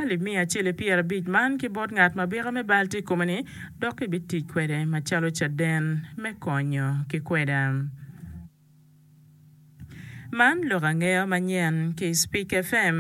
alip miya acel ki pyerabic man ki bot ngat ma byeka me bal tye i kome ni dok kibitic kwede macalo caden me konyo ki kweda. Man lok angeya manyen ki Speak FM.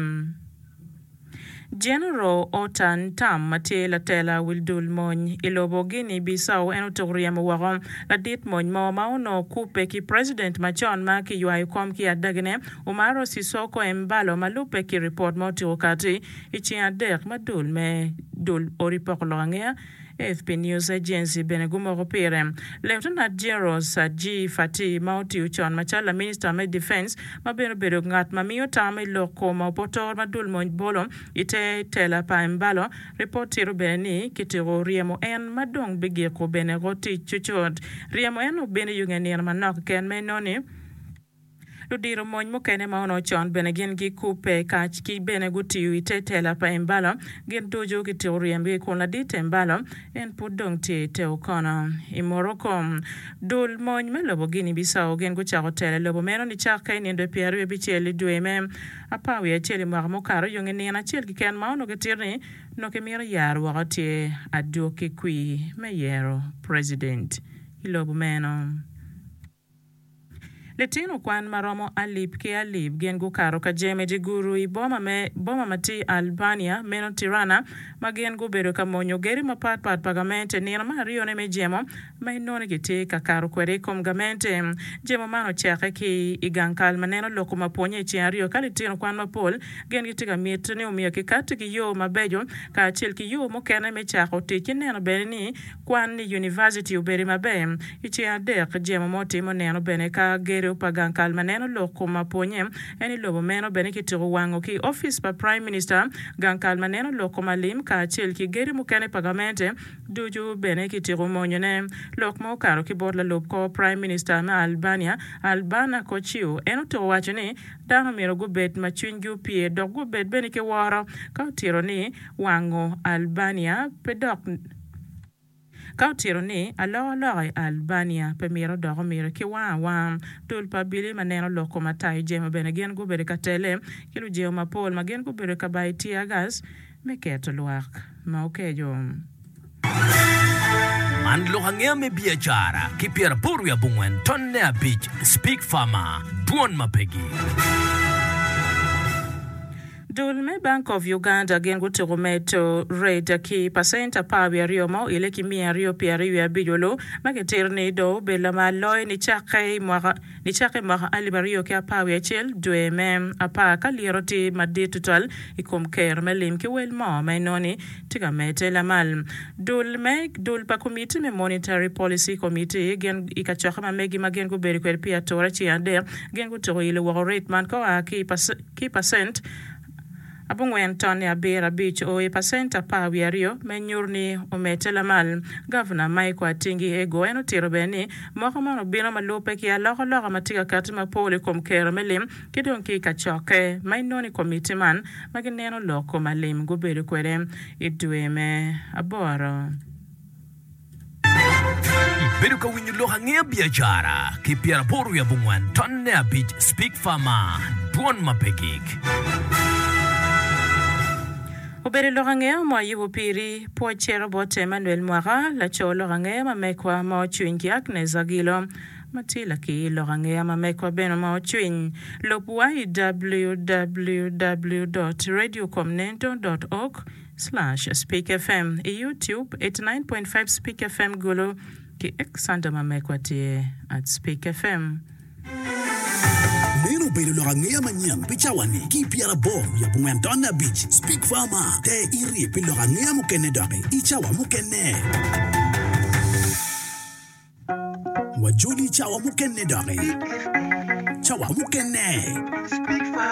General Ota Ntam ma tye latela wil dul mony i lobo Guinea Bissau en otuko ryemo woko ladit mony mo ma onongo kubbe ki president macon ma kiywayo kom ki adagine Umaro Sissoco Embalo ma lubbe ki ripot ma otyeko kati i ceng adek ma dul me dul odi poko lok angeya AFP News Agency bene gumoko pire. Lieutenant General Sadji Fati ma otiyo con macalo laminista me Defense ma bene obedo ngat ma miyo tam i lok kom opotor ma dul mony bolo i te tela pa Embalo, ripot tito bene ni kityeko ryemo en ma dong bigiko bene ko tic cucut. Ryemo en obino i yo nge nino manok keken ma inongo ni Ludito mony mukene ma onongo con bene gin gikubbe kac ki bene gutiyo i te tela pa Embalo gin ducu kitiko ryemgi kun ladit Embalo en pud dong tye i te okono. I Morocco, dul mony me lobo Guinea Bissau gin gucako telo i lobo meno nicakke i nindo pyeraryo abicel i dwe me apar wiye acel i mwaka mukato yo nge nino acel keken ma onongo kitito ni onongo kimito yaro woko tye adwogi kwir me yero president i lobo meno. Litino kwan ma romo alip ki alip gin gukato ka jemo i dye gudo i boma me boma ma tye i Albania, meno Tirana, ma gin gubedo ka monyo gedo mapat pat pa gamente nino me aryone me jemo ma inongo ni gitye ka kato kwede i kom gamente. Jemo man ocakke ki i gang kal ma neno loko ma pwonye i ceng aryo ka litino kwan mapol gin gitye ka miti ni omyero kikatti ki yo mabeco kacel ki yo mukene me cako tic ki neno bene ni Kwan i univaciti obedo maber. I ceng adek, jemo mo timo neno bene ka gedo pa gang kal ma neno lok kom ma pwonye en i lobo meno bene kityeko wango ki i opic pa Prime Minister, gang kal ma neno lok kom alim kacel ki gedo mukene pa gamente ducu bene kityeko monyone. Lok ma okato ki bot lalub kor Prime Minister me Albania, Albana Koçiu, en otyeko waco ni dano myero gubed ma cwinygi opye dok gubed bene ki woro ka otito ni wango Albania pe dok Ka otito ni, Alokaloka i Albania pe mito dok omito ki wang awanga. Dul pa abili ma neno lok kom atayo jemo bene gin gubedo ka tele ki lujemo mapol ma gin gubedo ka bayo tear gas me keto lwak ma okeco. Man lok angeya me biacara ki pyeraboro wiye abongwen tonne abic Speak Farmer, Dwon ma pegi. Dul me Bank of Uganda gin gutuko medo rate ki pacent 12 ma oile ki 228 olu ma kitito ni dong obedo lamal loyo nicakke i mwaka nicakke i mwaka alip aryo ki apar wiye acel dwe me apar ka lyeto tye madit tutwal i kom kero me lim ki wel mo ma inongo ni tye ka medde lamal. Dul me dul pa komiti me Monetary Policy Committee gin i kacokke ma megi ma gin gubedo kwede pi ature ceng adek gin gutuko ilo woko rate man ka oa ki i Ki pacent abongwen tonne abiro abic o i pacent apar wiye aryo me nyuto ni omedde lamal. Gavuna Michael Atingi Ego en otito bene ni moko man obino ma lubbe ki alokaloka ma tye ka kati mapol i kom kero me lim ki dong ki i kacokke ma inongo i komiti man ma gineno lok kom alim gubedo kwede i dwe me aboro. Ibedo ka winyo lok angeya biacara ki pyeraboro wiye abongwen tonne abic Speak Farmer, Dwon ma pe gik. Obedo lok angeya ma wayubo piri. Pwoc cito bot Emmanuel Mwaka, laco lok angeya ma mekwa ma ocwiny ki Agnes Agilo ma tye lakir lok angeya ma mekwa bene ma ocwiny. Lub wa i www dot radiokomnento dot org. Slash Speak FM i YouTube 89.5 Speak FM Gulu ki X anta ma mekwa tye at Speak FM. Meno obedo lok angeya manyen pi cawa-ni ki i pyeraboro wiye abongwen tonne abic. Speak Farmer, Ter iti pi lok angeya mukene doki i cawa mukene. Wajoli i cawa mukene doki. Cawa mukene.